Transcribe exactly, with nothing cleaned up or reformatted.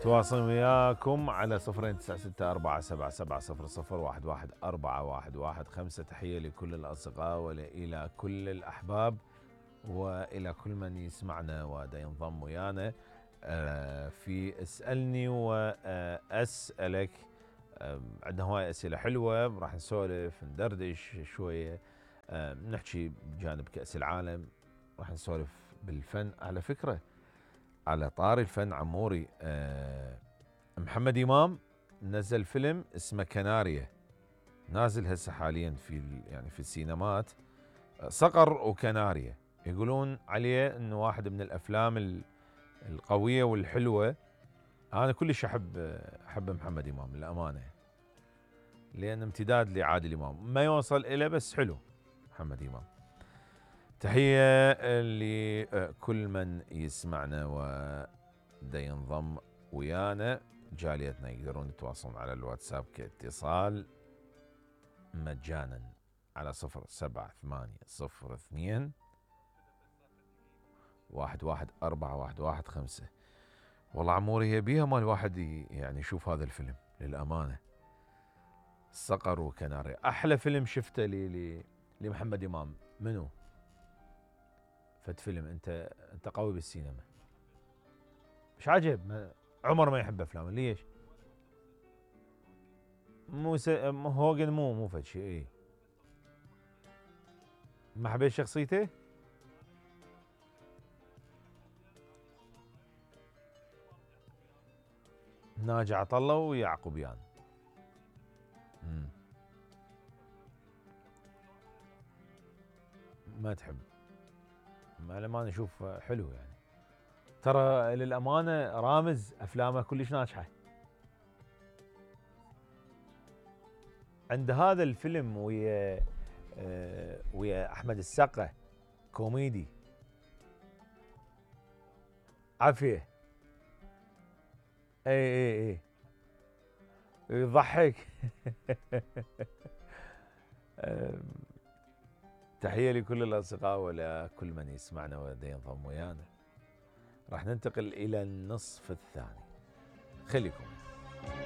تواصل وياكم على صفرين تسعة ستة أربعة سبعة سبعة صفر صفر واحد واحد أربعة واحد واحد خمسة. تحية لكل الأصدقاء وإلى كل الأحباب وإلى كل من يسمعنا ودا ينضم ويانا في اسألني وأسألك. عندنا هواي أسئلة حلوة، راح نسولف ندردش شوية، نحكي بجانب كأس العالم، راح نسولف بالفن. على فكرة على طاري الفن عموري، محمد إمام نزل فيلم اسمه كناريا، نازل هسه حاليا في يعني في السينمات، صقر وكناريا. يقولون عليه انه واحد من الافلام القوية والحلوة. انا كلش احب احب محمد إمام للامانة، لان امتداد لعادل امام، ما يوصل إله بس حلو محمد إمام. تحية لكل من يسمعنا ودا ينضم ويانا. جاليتنا يقدرون يتواصلون على الواتساب كاتصال مجانا على صفر سبعة ثمانية صفر اثنين واحد واحد أربعة واحد واحد خمسة. والله عموري هي بيها ما الواحد يعني يشوف هذا الفيلم للأمانة، صقر وكناري. أحلى فيلم شفته لي لمحمد إمام منو؟ فت فيلم انت انت قوي بالسينما، مش عاجب؟ ما عمر ما يحب افلامه ليش؟ مو س... هوجن مو مو فد شيء. ايه ما حبيت شخصيته؟ ناجي عطله ويعقوبيان. امم ما تحب؟ ما ما نشوف حلو يعني، ترى للأمانة رامز أفلامه كلش ناجحة. عند هذا الفيلم ويا آه ويا أحمد السقا كوميدي عافية. اي اي اي يضحك. تحية لكل الأصدقاء ولكل من يسمعنا ودا ينضم ويانا. راح ننتقل إلى النصف الثاني، خليكم